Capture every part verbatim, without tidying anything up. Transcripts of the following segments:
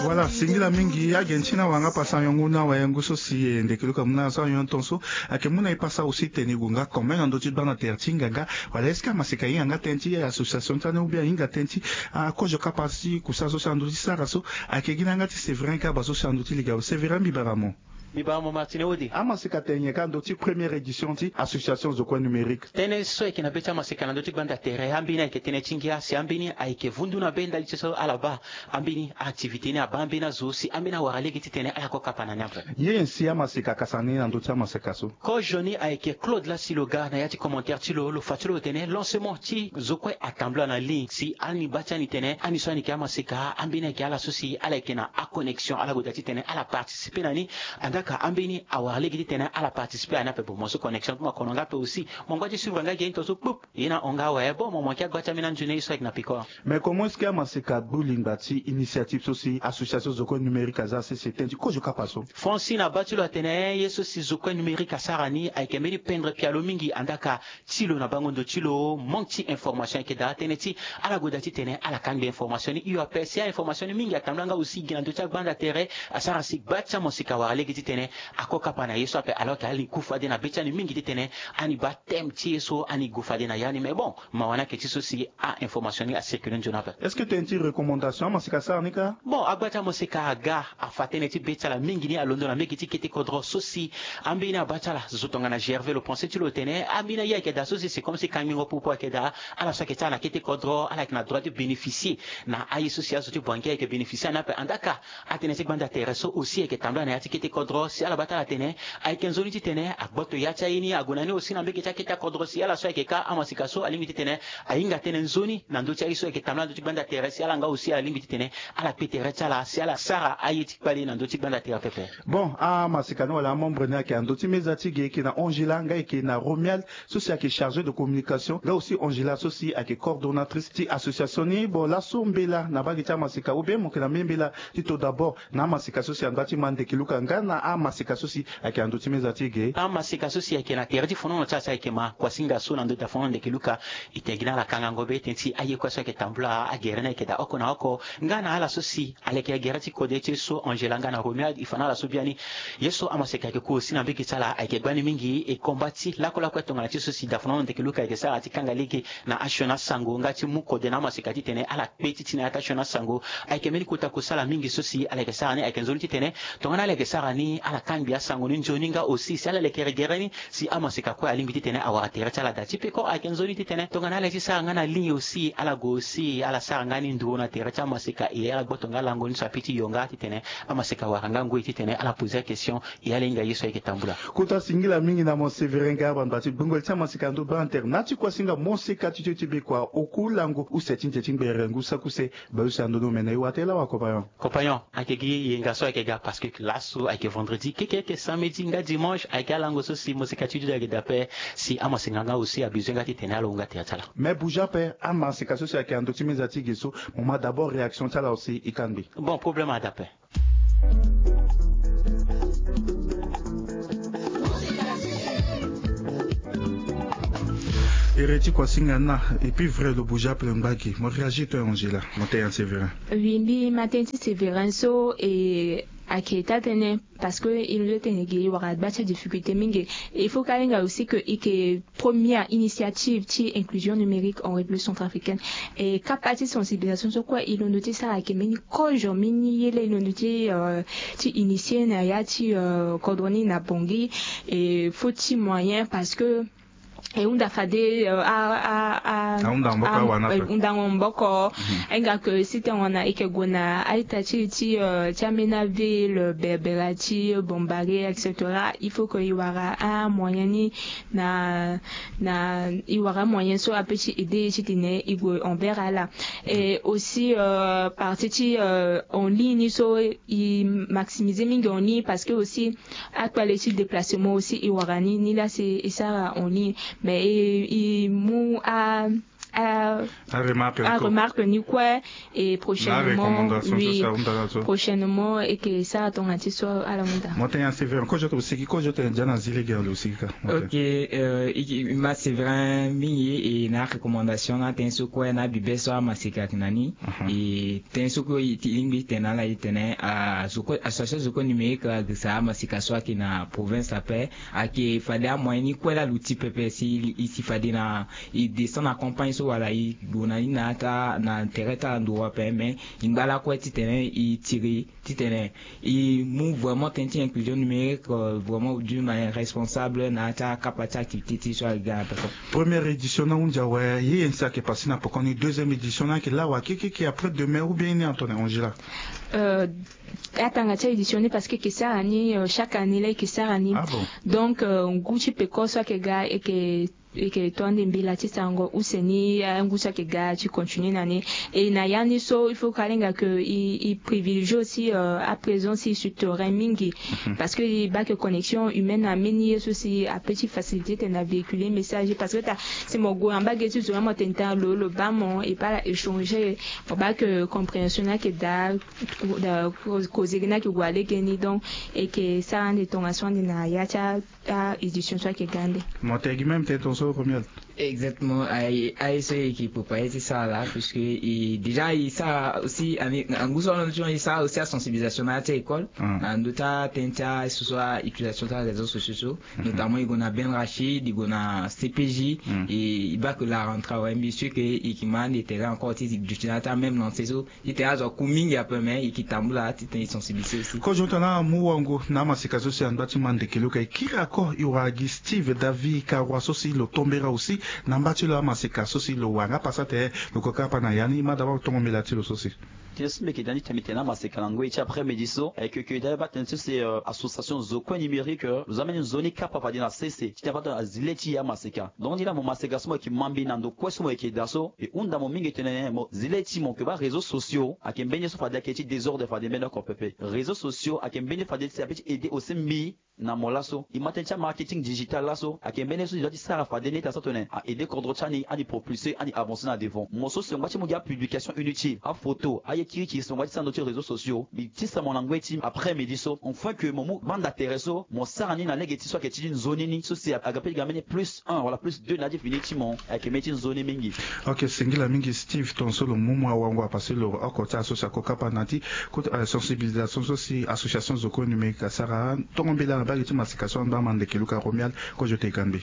Voilà, singila mingi age ti na wanga pasa yongu na wayangu so si e ndeke luka mu na so ayon ton so. Ayeke mu na e pasa aussi tene e gue nga kome na ndö ti gbanda tere ti nganga. Wala est-ce que amaseka ahinga nga tënë ti association ti ande ou bien ahinga tënë ti akozo kapa si kusa so si ando ti sara so? Ayeke gi na yanga ti Séverin Kaba so si ando ti liga. Séverin, mbi bara mo. Mbi bara mo Martine Ode. Amaseka tene nyen ka ndö ti première édition ti association Zo Kue Numérique? Tënë so ayeke na be ti amaseka na ndö ti gbanda tere, ambeni ayeke tënë ti ngia si ambeni ayeke vundu na be ndali ti so ala baa ambeni activité ni, abaa ambeni azo si ambeni awara lege titene ala ko kapa na ni ape. Nyen si amaseka akasa ni na ndö ti amaseka so? Kozo ni ayeke Claude Lasiloga na ya ti commentaire ti lo, lo fa ti lo tene lancement ti Zo Kue atambula na ligne si ani baa ti ani tene ani so ani yeke amaseka, ambeni ayeke ala so si ala yeke na aconnexion, ala gue daa titene ala participer na ni. Andaka ambeni awara lege titene ala participer na ni ape. Bon, mo so connexion ti mo akono nga ape aussi, mo ngba ti suivre nga gi ye ni to so kpup. Ye na hon nga awe. Bon, mo mo yeke agba ti ambeni anzoni ye so ayeke na peko. Mais comment est-ce que amaseka agbu lingba ti initiative so si association Zo Kue Numérique aza sese tënë ti kozo kapa so? Francine abaa ti lo atene ye so si Zo Kue Numérique asara ni ayeke mbeni pendre pialo mingi, andaka ti lo na bango ndo ti lo manque ti information ayeke daa tënë ti ala gue daa titene ala kangbi information ni hio ape. Si a-information ni mingi atambula nga aussi gi na ndö ti agbanda tere, asara si gba ti amaseka awara lege titene ako kapa na ye so ape. Alors que ala ni ku fade na be ti ani mingi titene ani baa thème ti ye so ani gue fade na ya ni. Mais bon, mawa ni ayeke ti so si a-information ni acircule nzoni ape. Est-ce que tënë ti recommandation amaseka asara ni kâ? Bon, agba ti amaseka aga afa tënë ti be ti ala mingi ni alondo na mbege ti kete kodro so si ambeni abaa ti ala zo tongana Gervais, lo pensé ti lo tene ambeni aye ayeke daa so si c'est comme si kangbingo popo ayeke daa. Ala so ayeke ti ala na kete kodro ala yeke na droit ti bénéficier na aye so si azo ti banquier ayeke bénéficier na ni ape. Andaka atënë ti gbanda tere so aussi ayeke tambula na ya ti kete kodro si ala baa ti ala tene ayeke nzoni titene agboto ya ti aye ni ague na ni aussi na mbege ti akete akodro si ala so ayeke kâ amaseka so alingbi titene ahinga tënë nzoni na ndö ti aye so ayeke tambula na ndö ti gbanda tere si ala nga aussi ala lingbi titene ala kpe tere ti ala si ala sara aye ti kpale na ndö ti gbanda tere pepe. Bon, amaseka ni wala amembre ni ayeke na ndö ti meza ti ge, e yeke na Angela nga e yeke na Romuald so si ayeke chargé de communication, nga aussi Angela so si ayeke coordonnatrice ti association ni. Bon, laso mbela na mbage ti amaseka ou bien mo yeke na mbembela ti to d'abord na amaseka so si angba ti ma ndeke luka nga na amaseka so si ayeke na ndö ti meza ti ge? Amaseka so si ayeke na tere ti fonono ti ala si ayeke ma kuasinga so na ndö ti dafon ndeke luka. E tene gi na ala kangango be tënë ti aye kue so ayeke tambula agere ni ayeke daa oko na oko nga na ala so si aleke gere ti kode ti ye so Angela nga na Romuald e fa na ala so biani. Ye so amaseka ayeke ku aussi na mbege ti ala ayeke gbani mingi, e combat ti lakue lakue tongana ti so si dafon ndeke luka ayeke sara ti kanga lege na asioni asango nga ti mu kode na amaseka titene ala kpe ti ti na ya ti asioni asango. Ayeke mbeni kota kusala mingi so si ala yeke sara ni ayeke nzoni titene tongana ala yeke sara ni ala kangbi asango ni nzoni nga aussi si ala leke gere ni si amaseka kue alingbi titene awara tere ti ala daa ti peko. Ayeke nzoni titene tongana ala ye ti sara nga na ligne aussi ala gue aussi ala sara nga ni nduru na tere ti amaseka e ala gboto nga lango ni so ape ti yo nga titene amaseka awara nga ngoi titene ala poser question e ala hinga ye so ayeke tambula. Kota singila mingi na mo Séverin Garba, mba ti gbongoli ti amaseka ndo baa na tere na ti kuasinga moseka ti tio ti bekua oku lango use ti nze ti ngbere ngu saki use. Baleuse ando ni omene e wara tënë laa wa compagnon. Compagnon, ayeke gi yenga so ayeke ga parce que laso ayeke vendredi, keke ayeke samedi nga dimanche ayeke alango so si moseka ti dudu ayeke daa ape. Si amaseka nga aussi abezoin nga titene ala hunga tere ti ala. Mais bouge ape, amaseka so si ayeke na ndö ti meza ti ge so, mo ma d'abord réaction ti ala aussi e kangbi. Bon, problème ada ape. Ere ti kuasinga na et puis vrai lo bouge ape lo ngba gi. Mo réagir to Angela, mo tene ya Séverin. Oui, mbi ma tënë ti Séverin so e ayeke taa tënë parce que e londo tene gi e wara gba ti adifficulté mingi. Il faut ka hinga aussi que e yeke première initiative ti inclusion numérique en République centrafricaine. E kapa ti sensibilisation so kue e londo ti sara ayeke mbeni kozo mbeni ye laa e londo ti euh, ti initier na ya ti euh, kodro ni na Bangui. E faut ti moyen parce que e hunda fade euh, a a a Ahunda maboko a- awana eh, pe. Hundango maboko. Mhm. Ahinga ke si tongana e yeke gue na a-ita ti ti euh, ti ambeni aville, euh, Berbera ti, euh, Bambari, et cetera. Il faut que e wara amoyen ni na na e wara amoyen so ape ti aider e titene e gue envers ala. Et aussi euh, partie ti euh, en ligne ni so e maximiser mingi en ligne parce que aussi akpale ti déplacement aussi e wara ni ni laa si e sara en ligne. Mais e e mu a aremarque ni kue. Et prochainement, oui, prochainement eke sara tongana ti so ala hunda. Mo tene ya Séverin, kozo tene osigi, kozo tene dia na zi lege alo osigi ka. Ok. Ma Séverin mingi e na recommandation na tënë so kue na bibe so amaseka ayeke na ni. E tënë so kue e lingbi tene na ala e tene association zo kue numérique ayeke sara amaseka so ayeke na province ape. Ayeke fade amoyen ni kue laa lo ti pepe si e si fade na e descend na campagne so wala e gue na ni na ata na tere ti ala nduru ape mais e ngba lakue titene e tiri titene e mu vraiment tënë ti inclusion numérique vraiment d'une manière responsable na ata akapa ti activité ti so ayeke ga na peko. Première édition na ahunzi awe ye ye nsi ayeke pase na poko ni. Deuxième édition ni ayeke laa wa kekeke après demain ou bien ni atone Angela? Atanga ti édition ni parce que eke sara ni chaque année la eke sara ni. Donc ngu ti peko so ayeke ga eke eke to ande mbela ti sarango use ni angu so ayeke ga ti continuer na ni. Et na ya ni so il faut ka lenga que e privilégier aussi à présent si sur terrain mingi parce que e baa que connexion humaine na mbeni ye so si ape ti facilité tene na véhiculer message parce que ta si mo gue na mbage ti zo na mo tene ta lo lo baa mo e baa la échanger mo baa que compréhension ni ayeke daa kozege ni ayeke gue na legeni. Donc eke sara ande tongaso ande na ya ti a édition so ayeke ga ande. Mo tene gi même tene tongaso Romuald. Exactement. Aye so eke préparer ti sara laa puisque déjà e sara aussi angu so alondo ti mo e sara aussi asensibilisation na ya ti école na ndö ti atënë ti aye so so utilisation ti aréseau sociaux so notamment e gue na Ben Rachid e gue na C P J. E baa que la rentrée awe mbi sûr que e yeke ma ande tere encore ti duti na ya ti amême lancé so. Titene azo aku mingi ape mais e yeke tambula titene e sensibiliser aussi. Kozo tongana amu wango na amaseka so si angba ti ma ndeke luka e kiri ako e wara gi Steve David Karua so si lo tombera aussi na mba ti lo amaseka so si lo wara nga pasa tene lo ko kapa na ya ni ma d'abord tongo mbela ti lo so si. Tënë so mbi yeke daa ni tene mbi tene na amaseka na ngoi ti après midi so ayeke que daa baa tënë so si association zo kue numérique lo za mbeni nzoni kapa fade na sese titene afa tongana zi le ti e amaseka. Donc ni laa mo maseka so mo yeke ma mbi na ndo kue so mo yeke daa so e hunda mo mingi tene mo zi le ti mo yeke baa réseaux sociaux ayeke mbeni ye so fade ayeke ti désordre fade mbeni oko pepe. Réseaux sociaux ayeke mbeni ye fade ti ape ti aider aussi mbi na mo laso e ma tënë ti amarketing digital laso ayeke mbeni ye so e doit ti sara fade ni ete asara tongana a aider kodro ti ani ani propulser ani avancer na devant. Mo so si mo ngba ti mu gi apublication inutile aphoto aye kirikiri si mo ngba ti sara ndö ti réseaux sociaux mbi tisa mo na ngoi ti après midi so enfin que mo mu banda tere so mo sara ni na lege ti so ayeke ti nzoni ni so si aga pe ti ga mbeni plus un wala plus deux na ya ti fini ti mo ayeke mbeni ti nzoni mingi. Ok, singila mingi Steve tongaso lo mu mo awango apase lo oko ti aso si ako kapa na ya ti sensibilisation so si association zo kue numérique asara. Tongo mbela na mbage ti masika so anda ama ndeke luka Romuald. Kozo te ka mbi.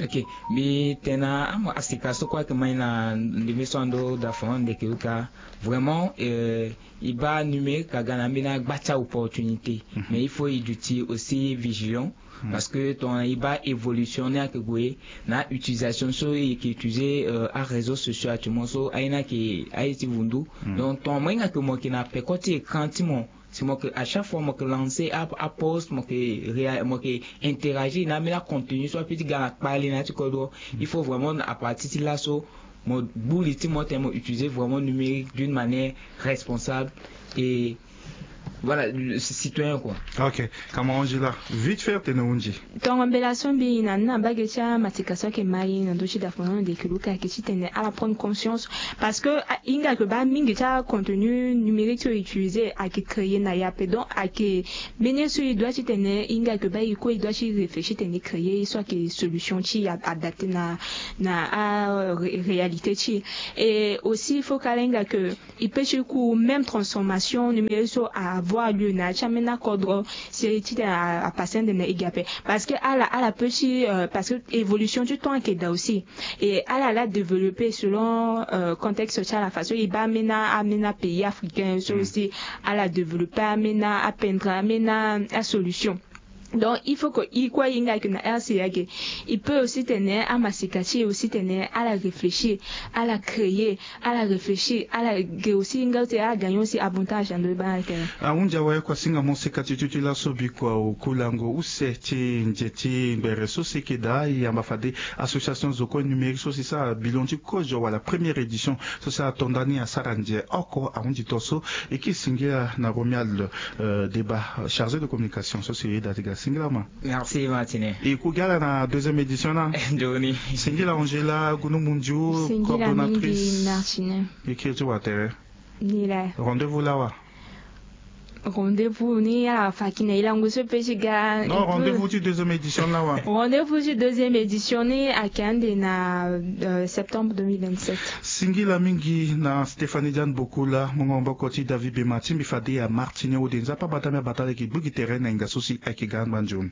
Ok, mbi tene na amasika so kue ayeke ma e na ndembe so ando dafon ndeke luka vraiment e baa numérique aga na ambeni agba ti aopportunité. Mais il faut e duti aussi vigilant. Parce que tongana e baa évolution ni ayeke gue na utilisation so e yeke utiliser aréseau sociaux actuellement so aye ni ayeke aye ti vundu. Donc tongana mo hinga ke mo yeke na peko ti écran ti mo si mo yeke à chaque fois mo yeke lancer apost mo yeke interagir na ambeni acontenu so ape ti ga na kpale na ya ti kodro. Il faut vraiment à partir ti laso mo gbu li ti mo tene mo utiliser vraiment numérique d'une manière responsable et voilà, citoyen quoi. Ok. Kama Angela, vite fait tene hunzi. Tongo mbela so mbi na ni na mbage ti amasika so ayeke ma e na ndö ti dafono ndeke luka ayeke titene ala prendre conscience. Parce que e hinga ke baa mingi ti acontenu numérique so e utiliser ayeke créer na e ape donc ayeke mbeni ye so e doit titene e hinga ke baa e kue e doit ti réfléchir tene e créer ye so ayeke solution ti e adapter na na aréalité ti e. Et aussi il faut ka ala hinga ke e peut ti ku même transformation numérique so avoir lieu na ya ti ambeni akodro si titene apase ande na e ge ape. Parce que ala ala peut ti parce que évolution ti temps ayeke daa aussi. Et ala ala développer selon contexte ti ala façon e baa ambeni ambeni apays africain so aussi ala développer ambeni apendre ambeni asolution. Donc il faut que e kue e hinga ke na R C A ge e peut aussi tene amasika ti e aussi tene ala réfléchir ala créer ala réfléchir ala ge aussi e hinga ti ala gagner aussi avantage na ndo ti baa ala tene. Ahunzi awe kua singa mo sika ti tuti laso bikua oku lango use ti nze ti ngbere so si eke daa e yamba fade association zo kue numérique so si sara bilon ti kozo wala première édition so si ato nda ni asara nze oko ahunzi to so. E ke singila na Romuald Deba chargé de communication so si e da ti ga. Singila ma. Merci Martine. E ku gi ala na deuxième édition na. Ndoni. Singila Angela Gunu Mundiu, coordonnatrice. Singila mingi Martine. E kiri ti wa tere. Ni la. Rendez-vous lawa. Rendez-vous ni ala fa ki na e lango so pe ti ga. Non, rendez-vous ti deuxième édition lawa. Rendez-vous ti deuxième édition ni ayeke ande na septembre deux mille vingt-sept. Singila mingi na Stéphanie Diane Bokula, mungo maboko ti David Bema ti mbi fade ya Martine Ode Nzapa bata mbi abata leke gbu gi tere na hinga so si ayeke ga angba nzoni.